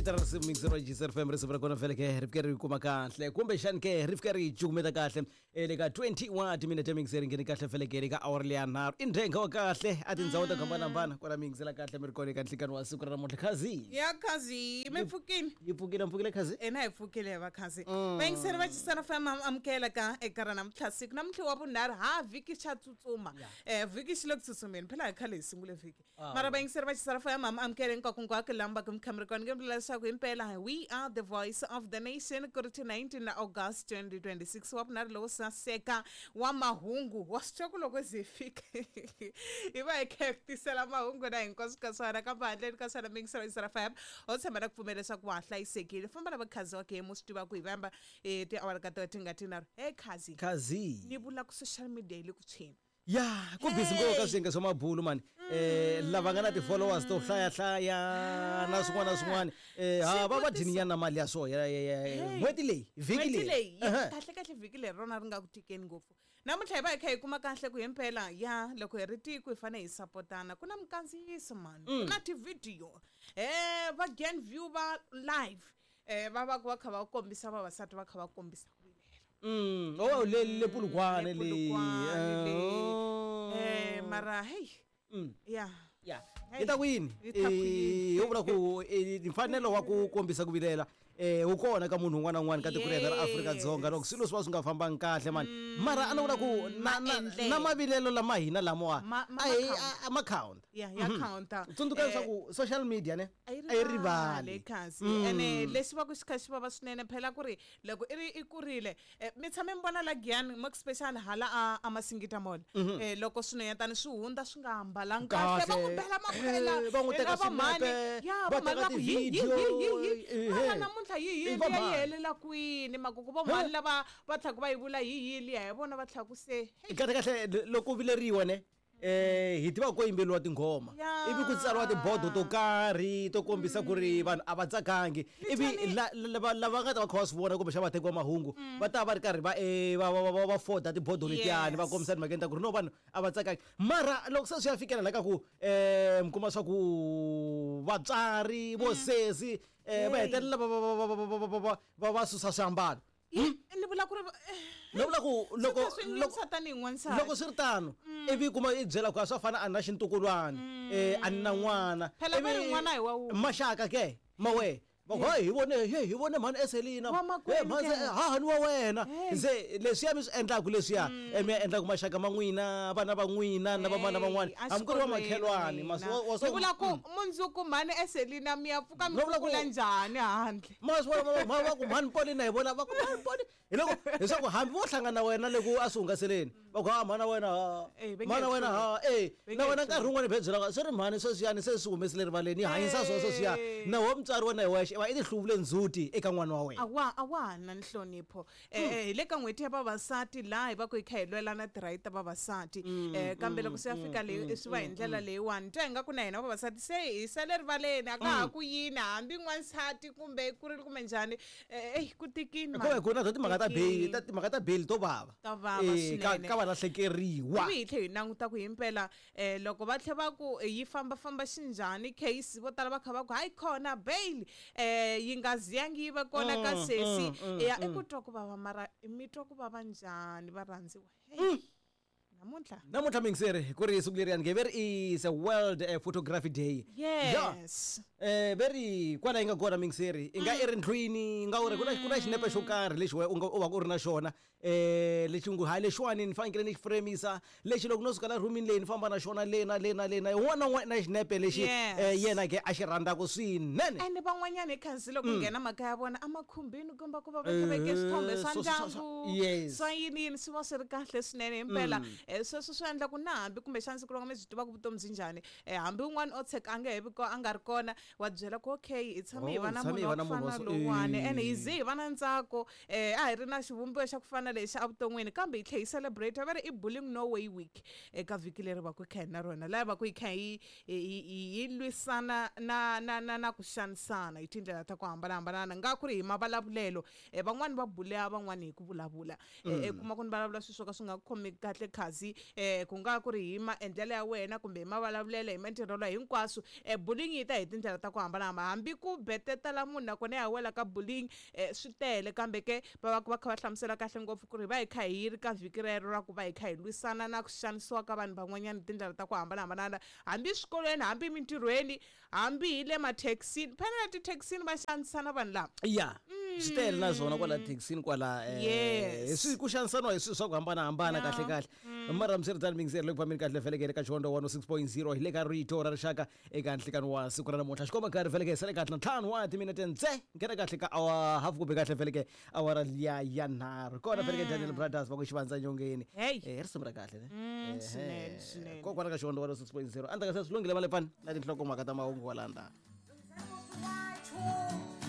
Ta risimu mixer wa GCR FM, risimu ra kona vhele ke ri fike ri kuma kahle, kumbexani ke ri fike ri cukumeta kahle le ka 21 timinete. Mixer ngheni kahle vhele ke le ka awara leya nharhu, i ndhenga wa kahle a tindhawu to hambanahambana kwala mixela kahle. Mi ri kona eka nhlikani wa siku ra namuntlha, khazi. Ya khazi, mi pfukile? Yi pfukile, mpfukile khazi. Ena hi pfukile va khazi. Vayingiseri va Chisana FM, amukela ka eka ra namuntlha, siku namuntlha wa vunharhu ha vhiki. Xa tsutsuma vhiki, xi le ku tsutsumeni phela, hi khale hi sungule vhiki. Mara vayingiseri va Chisana FM, amukela hinkwako lamba ku mi kona. Nge vula leswaku himpela we are the voice of the nation, ku ri ti 19 August 2026, wa vunharhu lowo saseka wa mahungu. Wa swi twa ku loko ze hi fika hi va hi kha hi tisela mahungu na hinkwaswo ka swona, kambe handleni ka swona, miyingiselo Chisana FM, ho tshemba na ku pfumela leswaku wa ha hlayisekile. Famba na vakhazi wa game, swi tiva ku hi vamba tiawara ka to ti nga tinharhu. Hey khazi. Khazi. Ni vula ku social media yi le ku tshweni. Ya, ku busy ngopfu ka swiyenge swa mabulu mani, lava nga na ti-followers to hlaya na swin'wana na swin'wana, ha va va dyini na mali ya swo n'hweti leyi, vhiki leyi, leyi. Kahle kahle vhiki leri rona ri nga ku tikeni ngopfu. Namuntlha hi va hi kha hi kuma kahle ku himpela ya loko hi ri tiko hi fanele hi sapotana. Ku na minkandziyiso mani, ku na tivhidiyo, va Gen View va live, va va va kha va kombisa vavasati va kha va kombisa ku vilela. Oh, le Polokwane le. Mara hey, ya. Ya, hi ta ku yini? Hi vula ku mfanelo wa ku kombisa ku vilela wu kona ka munhu un'wana na un'wana ka tiko ra hina ra Afrika-Dzonga loko swilo swi va swi nga fambangi kahle mani. Mara a ni vula ku na mavilelo lama hina lamawa a ma count. Ya, ya counter. Tsundzuka leswaku social media ne a yi rivali. Kasi ene lexi va ku xi kha xi vava swinene phela ku ri loko i ri i kurile, mi tshame mi vona la Giyani, mo special hala a Masingita Mall, loko swinhwanyatani swi hundza swi nga ambalanga kahle, va n'wi bela makhwela. Va n'wi teka mhani ya va mhani teka va ku hi hi hi hi hi. Ehe. Mara namuntlha hi hi I va liya yi mhani. Helela kwini makuku vo mhani lava va tlhaku va yi vula hi hi liya hi vona va tlhaku se hey. Kahle kahle loko vileriwa ne, hi tiva ko yimbeliwa tinghoma, ivi ku tsariwa tibodo to karhi to kombisa ku ri vanhu a va tsakangi, ivi lava nga ta va kha va swi vona kumbe xa vateki va mahungu va ta va ri karhi va va foda tibodo letiyani, va kombisa timhakeni ta ku ri no, vanhu a va tsakangi. Mara loko se swi ya fikela la ka ku mi kuma swa ku vatswari vo sesi va hetelela va susa swiambalo. Ni vula ku ri Ni vula ku loko swi nyumisa tanihi n'wansati. Loko swi ri tano, ivi kuma i byela ku a swa fana a na xintukulwana, a ni na n'wana. Phela va ri n'wana hi wa wun'we. Maxaka ke mawe va ku hi vone he hi vone mhani Eselina. Wa makwenu mhani ke. Hahani wa wena. Hey. Se leswiya mi swi endlaku leswiya, mi ya endlaku maxaka ma n'wina, vana va n'wina na vamana van'wana, Hey, hambi ku ri va exikolweni makhelwani n'wina. Ni vula ku mundzuku mhani Eselina mi ya pfuka mi No vula ku- kukula njhani handle? Ma swi vona, va ku mhani Polina, hi vona va ku mhani Poli, hi loko leswaku hambi vo hlangana na wena le ku a swi hungaseleni, va ku ha mhana wena ha Eh, va nge mhana hi wena ha Va nge na hi wena hluli. nkarhi wun'wani bye byela swi ri mhani sweswiyani se swi humesile rivaleni, hi hanyisa swona sweswiya. Eh. Na wo mutswari wena hi wexe i va i ti hluvule ndzhuti eka n'wana wa wena. A wa ha na nhlonipho. Hi le ka n'hweti ya vavasati laha hi va ku hi kha hi lwela na ti-right ta vavasati, kambe loko swi ya fika le swi va hi ndlela leyiwani, twa ingaku na hina vavasati se hi sale rivaleni, a ka ha ku yini hambi n'wansati kumbe i kurile kumbe njhani. Eyi, ku tikini. Ku va ku na to timhaka ta bail, ta timhaka ta bail to vava. Ta vava Ka swinene. Ka valahlekeriwa. Ivi hi tlhe hi languta ku himpela loko va tlhe va ku yi fambafamba xinjhani case, vo tala va kha va ku hayi khona bail yi nga ziyangi yi va kona ka sesi ya i ku twa ku vava. Mara mi twa ku vava njhani, varhandziwa? Hey, namuntlha. Namuntlha mingiseri ku ri siku leriyani nge ve ri is a World Photography Day. Ya. Yes. Ve ri kwala yi nga kona mingiseri, i nga i ri ndlwini, i nga u ri ku na xinepe xo karhi lexi we u nga u va u ri na xona, lexi ngu hayi lexiwani ni fanekele ni xi fremisa lexi, loko no suka la rhumini leyi ni famba na xona le na le na le na un'wana na un'wana na xinepe lexi yena ke a xi rhandzaka swinene. Ene van'wanyana hi khansi loko nghena makaya ya vona emakhumbini komba ku va va kha veke swithombe swa ndyangu, swa yini yini, swi va swi ri kahle swinene himpela. Sweswo swi endla ku na hambi kumbexana siku rin'wana mi byi tivaka vutomi byi njhani, hambi un'wana o tsheka a nga he vi a nga ri kona, wa byela ku okay, hi tshame hi Oh, va na hi tshame hi munhu va wa na ku munhu wa fana so- lowuwani, ene hi ze hi va na ntsako, a hi ri na xivumbiwa xa ku fana lexi evuton'wini, kambe hi tlhe hi celebrate. Va ri i Bullying No Way Week eka vhiki leri va ku hi kha hi na rona, laha va ku hi kha hi lwisana na ku xanisana hi tindlela ta ku hambanahambana, nga ku ri hi mavulavulelo. Van'wani va buleya van'wani hi ku vulavula, kuma ku ni vulavula swilo swo ka swi nga khomi kahle khazi. Gazi. Ku nga ku ri hi maendlelo ya wena kumbe hi mavulavulelo, hi matirhelo, hinkwaswo. Bullying yi ta hi tindlela ta ku hambanahambana, hambi ku betetela munhu nakona ya wela ka bullying. Swi tele, kambe ke va va va kha va hlamusela kahle ngopfu ku ri va hi kha hi ri ka vhiki rero ra ku va hi kha hi lwisana na ku xanisiwa ka vanhu van'wanyana hi tindlela ta ku hambanahambana, hambi swikolweni, hambi mintirhweni, hambi hi le mathekisini. Phela na tithekisini va xanisana vanhu lava. Ya, swi tele na swona kwala thekisini kwala. Swi ku xanisaniwa hi swilo swa ku hambanahambana. Kahle kahle, mara miswiritano, mingiseri le ku fambeni kahle felekele ka Xivandla 106.0, hi le ka Rito ra Rixaka eka nhlikani wa siku ra namuntlha. Xikomba nkarhi feleke sale kahle na 5 wa timinete ntse nghena kahle ka awa half kumbe kahle feleke awara liya ya 3 kona feleke. Daniel Brothers va ku Xivandza Nyongeni. Hey. Risimu ra kahle ne? Swinene, swinene. Kokwala ka Xivandla 106.0 andza ka se swi lunghile malepani na tinhlokomhaka ta mahungu walanda. Two.